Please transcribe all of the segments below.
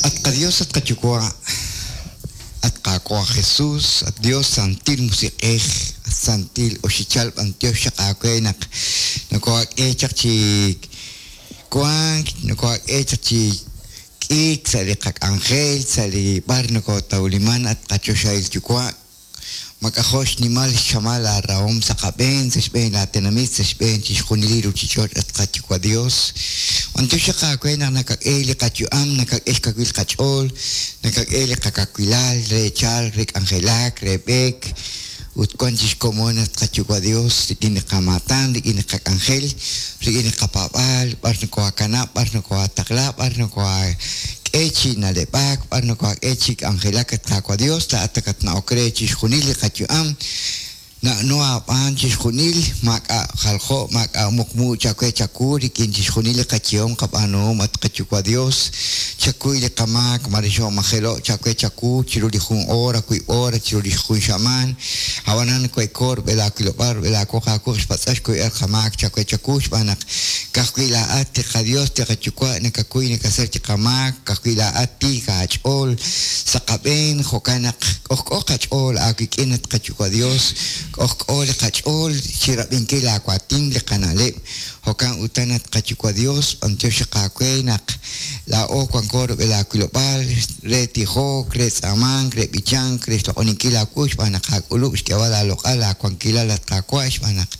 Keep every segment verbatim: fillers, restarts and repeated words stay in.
At qaDios, at qaYuwa', at Qaawa' Jesus, at Dios Santil Musiq'ej, at Santil Oxichal, b'antiox xaq aawe naq nokohak'e chaq chi wank, nokohak'e chaq chi k'iik sa' li qak'anjel, sa' li b'ar nokotawliman, at qachoxahil Yuwa'. Mak'ajo' xnimal xchamal aarahom sa' qab'een, sa' xb'een laatenamit, sa' xb'een chixjunil li ruuchich'och', at qaYuwa' Dios. B'antiox xaq aawe naq nakak'e li qayu'am, nakak'e xkawil qach'ool, nakak'e li qakawilal re chalk, re k'anjelak, re b'eek, ut wan chixkomon, at qaYuwa' Dios, rik'in li qamaatan, rik'in li qak'anjel, rik'in li qapaab'aal, b'ar nokohakanab', b'ar nokohataqla, b'ar nokohak'e chi na'leb'ak, b'ar nokohak'e chi k'anjelak, at Qaawa' Dios, laa'at nakatna'ok re chixjunil li qayu'am. Na'no aab'aan chixjunil, maak'a' jaljo', maak'a' muqmu chawe chawu rik'in chixjunil li qayehom qab'aanuhom, at qaYuwa' Dios. Chakuy li qamaak mare xoomajelo' chawe chawu chiru li jun hora, wiib' hora, chiru li jun xamaan. Ab'anan we'ko rub'el aawilob'aal, rub'el aawoq aawuq xpatz'ax kuyb'al qamaak chawe chawu, xb'aan naq ka'ajwi' laa'at li qaDios, li qaYuwa', nakakuy nakasach li qamaak, ka'ajwi' laa'at tiik aach'ool sa' qab'een. Jo'kan naq k'ojk'o qach'ool aawik'in, at qaYuwa' Dios, k'ojk'o li qach'ool chi rab'inkil aawaatin li qana'leb'. Jo'kan utan, at qaYuwa' Dios, b'antiox xaq aawe naq laa'o wanko rub'el aawilob'aal re tijok, re tz'aamank, re b'ichank, re xloq'oninkil aawu, xb'aan naq aak'ulub' xk'eeb'al aaloq'al aawankilal, at Qaawa', xb'aan naq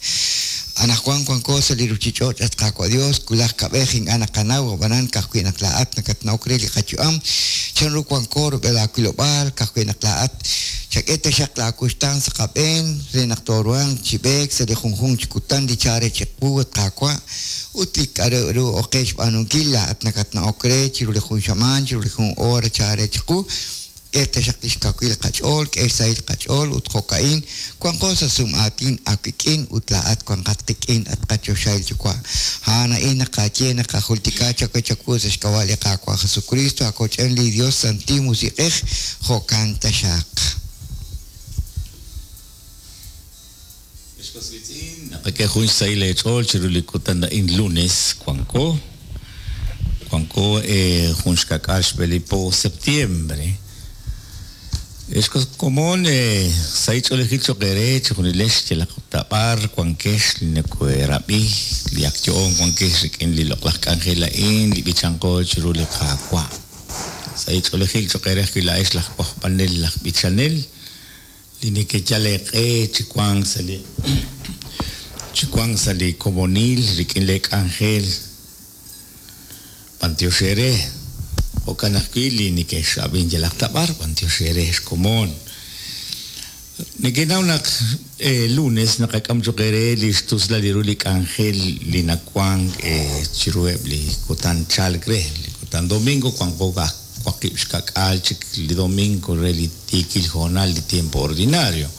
anaqwan wanko sa' li ruuchich'och', at Qaawa' Dios, wulaj kab'ej ink'a' naqanaw, ab'anan ka'ajwi' naq laa'at nakatna'ok re li qayu'am, chanru wanko rub'el aawilob'aal, ka'ajwi' naq laa'at chak'e taxaq laawuxtaan sa' qab'een re naq tooruhanq chi b'eek sa' li junjunq chi kutan li chare chiqu, at Qaawa', ut li k'aru ru oqe xb'aanunkil laa'at nakatna'ok re chiru li jun xamaan, chiru li jun hora chare chiqu. K'e taxaq li xkawil qach'ool, k'e xsahil qach'ool, ut jo'ka'in wanqo sa' sum'aatin aawik'in ut laa'at wanqat qik'in, at qachoxahil Yuwa'. A'an a'in naqaye naqajultika chawe chawu sa' xk'ab'a' li Qaawa' Jesucristo, akoch'en li Dios Santil Musiq'ej, jo'kan taxaq. Naqak'e jun xsahil eech'ool chiru li kutan a'in lunes wanko wanko jun xka'k'aal xb'e li po septiembre. Ex komon, sahil ch'oolejil cho'q eere chixjunilex yalaq tab'ar wankex li nakoherab'i li ak yo'on wankex rik'in li loq'laj k'anjel a'in li b'ichanqo chiru li Qaawa'. Sahil ch'oolejil cho'q eere ajwi' laa'ex laj wajb'anel, laj b'ichanel li nekeyal eeq'e chi wank sa' li chi wank sa' li komonil rik'in le k'anjel. B'antiox eere. Jo'kan ajwi' li nekexrab'in yalaq tab'ar, b'antiox eere xkomon. Nekenaw naq lunes naqak'am cho'q eere li xtuslal li ru li k'anjel li nawank chiruheb' li kutan chalk re li kutan domingo wanqo waqib' xka'k'aal chik li domingo re li tiikil hoonal li tiempo ordinario.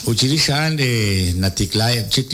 Ut chirix a'an natiklaeb' chik